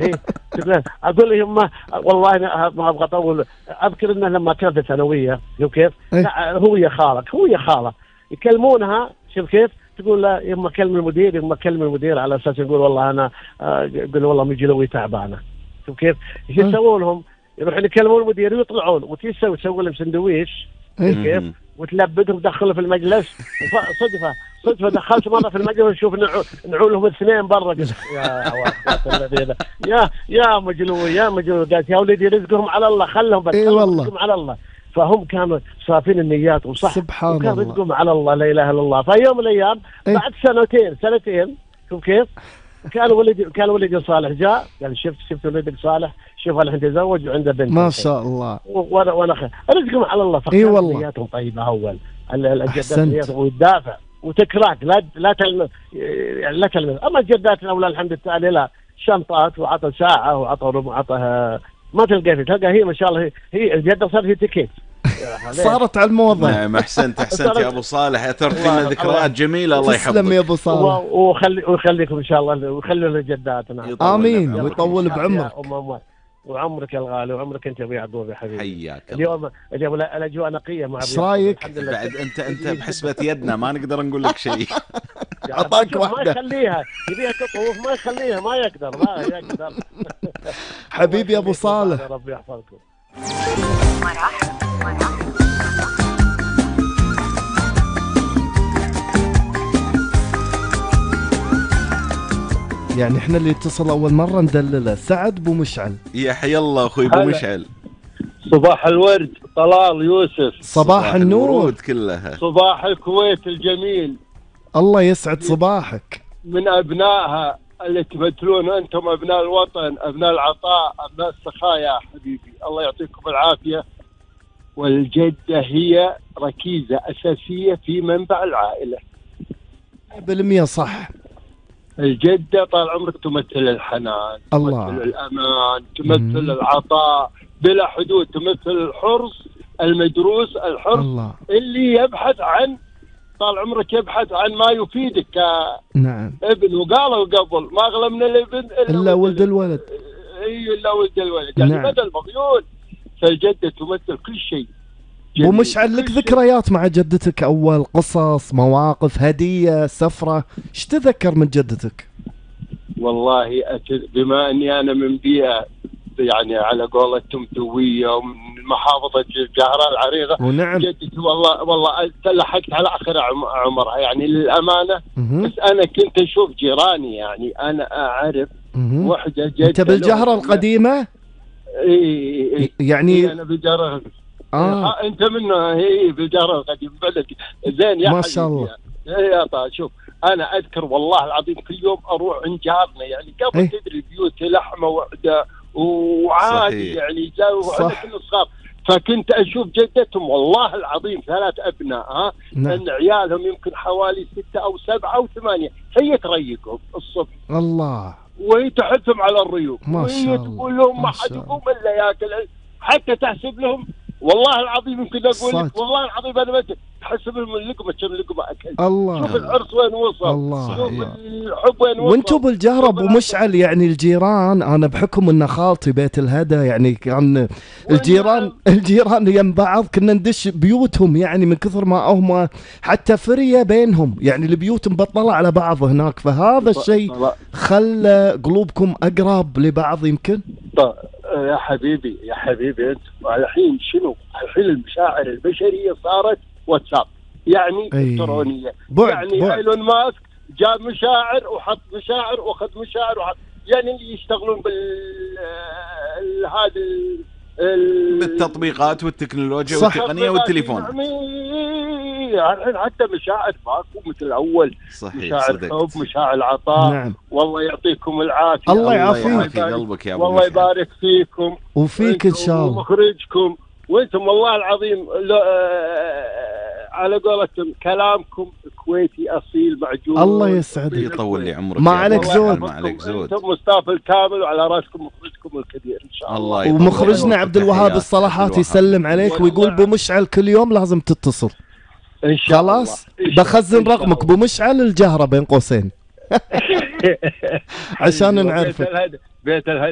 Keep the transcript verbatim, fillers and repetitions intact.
إيه تقول اقول لهم ما والله انا ما ابغى اطول. اذكر انه لما كانت الثانويه شوف كيف، إيه؟ لا هو يا خالك هو يا خاله يكلمونها شوف كيف، تقول لا يما كلم المدير يما كلم المدير على اساس يقول والله انا آه، يقول والله مجلوي تعبانه. شوف كيف ايش إيه؟ يسوون لهم؟ يروحون يكلمون المدير ويطلعون وتسوي تسوي تسوي لهم سندويش إيه؟ شوف كيف، وتلبدهم تدخله في المجلس. وصدفه صدفه دخلت مره في المجلس ونشوف نعو- نعولهم اثنين برا. قلت يا عواد الذين يا يا مجلوي يا مجلوي. قالت يا ولدي رزقهم على الله خلهم بس إيه خلهم والله. رزقهم على الله. فهم كانوا صافين النيات وصح، سبحان وكان الله. رزقهم على الله لا اله الا الله. فيوم من الايام إيه؟ بعد سنتين سنتين شوف كيف، كان ولدي كان ولدي صالح جاء قال شفت شفت ولدك صالح، شوف الحين تزوج وعنده بنت. ما شاء الله. وانا وانا خ- رزقهم على الله. إيه فكانت والله. نياتهم طيبه اول ال- الجدات أحسنت. نياتهم ويدافع وتكراك لا لا تلم يعني لا تلم. اما الجدات الاولى الحمد لله لا شنطات وعطى ساعه وعطى ربع عطى ما تلقى فيه تلقى هي ما شاء الله هي, هي الجده صارت هي تكيت. صارت على الموضة. نعم احسنت احسنت يا ابو صالح، اثرت لنا ذكريات جميله. الله تسلم يا يحفظك. ابو صالح. وخلي ويخليكم ان شاء الله ويخلوا لنا نعم. يطول آمين بعمرك. ويطول بعمرك. يا أم أموال. وعمرك الغالي وعمرك انت يا ابو يعقوب يا حبيبي. حياك الله. اليوم اليوم الاجواء نقيه مع إيش أبو يعقوب. رايك؟ الحمد لله. بعد انت انت بحسبة يدنا ما نقدر نقول لك شيء. أعطاك ما واحدة. يخليها يبيها تطوف ما يخليها ما يقدر ما يقدر. حبيبي يا ابو صالح. ربي يحفظكم. يعني احنا اللي اتصل اول مرة ندلله سعد بو مشعل. يا حي الله اخوي ابو هلا. مشعل. صباح الورد طلال يوسف، صباح النور. الورود كلها. صباح الكويت الجميل، الله يسعد صباحك. من أبنائها اللي تمثلون أنتم أبناء الوطن، أبناء العطاء، أبناء السخاء يا حبيبي، الله يعطيكم العافية. والجدة هي ركيزة أساسية في منبع العائلة. بالمية صح. الجدة طال عمرك تمثل الحنان، الله. تمثل الأمان، تمثل مم. العطاء بلا حدود، تمثل الحرص المدروس، الحرص الله. اللي يبحث عن طال عمرك يبحث عن ما يفيدك نعم. كابن. وقالوا قبل ما أغلى من الابن إلا ولد الولد. اي الا ولد الولد، يعني نعم. بدل مغيون. فالجدة تمثل كل شيء. بو جميل. مشعل لك كل شيء. ذكريات مع جدتك؟ اول قصص مواقف هدية سفرة ايش تذكر من جدتك؟ والله أت- بما اني انا من بيئة يعني على قولتهم دوية ومن محافظة الجهراء العريضة، ونعم. جدتي والله والله لحقت على اخر عم- عمرها يعني للامانة. مهم. بس انا كنت اشوف جيراني، يعني انا اعرف مهم. وحدة جدة انت بالجهرة لهم- القديمة اي اي اي يعني؟ انا بالجهرة. اه آه. انت منه هي بالجهرة القديم بلد زين يا ما حبيبي. شاء الله. يعني. يا طال شوف انا اذكر والله العظيم كل يوم اروح عند جارنا، يعني قبل إيه؟ تدري بيوت لحمه وحده وعادي صحيح. يعني جو صح. وحنا كنا صغار. فكنت اشوف جدتهم والله العظيم ثلاث ابناء ها نعم. ان عيالهم يمكن حوالي ستة او سبعة او ثمانية، هي تريقهم الصبح الله. وهي تحثهم على الريوق، ما شاء وهي الله. تقول لهم ما ما شاء حد الله. يقوم الا ياكل، حتى تحسب لهم والله العظيم يمكن اقول صدق. لك والله العظيم انا ما تحسب لهم اللقمه كم لقمه اكلت. الله. شوف الحرص وين وصل، الله. شوف الله. الحب وين وصل. وانتم بالجهرة ابو مشعل يعني الجيران، انا بحكم ان خالتي بيت الهدى يعني كان الجيران الجيران يم بعض كنا ندش بيوتهم يعني من كثر ما هم حتى فرية بينهم، يعني البيوت مبطلة على بعض هناك، فهذا الشيء خلى قلوبكم اقرب لبعض يمكن. طيب يا حبيبي يا حبيبي انت الحين شنو؟ الحين المشاعر البشريه صارت واتساب، يعني أي. الكترونيه. بعد يعني بعد. ايلون ماسك جاب مشاعر وحط مشاعر واخذ مشاعر وحط، يعني اللي يشتغلون بال ال- هذا ال- ال- بالتطبيقات والتكنولوجيا صح. والتقنية والتليفون. يعني الحين حتى مشاعر ماكو مثل الاول. صحيح مشاعر صدقت. حب، مشاعر عطاء. نعم. والله يعطيكم العافيه. الله الله يعافيك. يعافي قلبك يا ابو والله مشعل. يبارك فيكم وفيك ان شاء الله. ومخرجكم وانتم والله العظيم لو آه على قولتهم كلامكم كويتي اصيل معجون. الله يسعدك. يطول لي عمرك ما يا عليك أبو زود. مشعل، ما عليك زود. انتم مستاف الكامل وعلى راسكم مخرجكم الكبير ان شاء الله. الله يطول ومخرجنا عمرك. عبد الوهاب تحيات الصلاحات عبد الوهاب. يسلم عليك ويقول بو مشعل كل يوم لازم تتصل. ان شاء الله. خلاص إن شاء الله. بخزن إن شاء رقمك الله. بو مشعل الجهرة بين قوسين عشان بيت نعرفك. الهدى بيت الهدى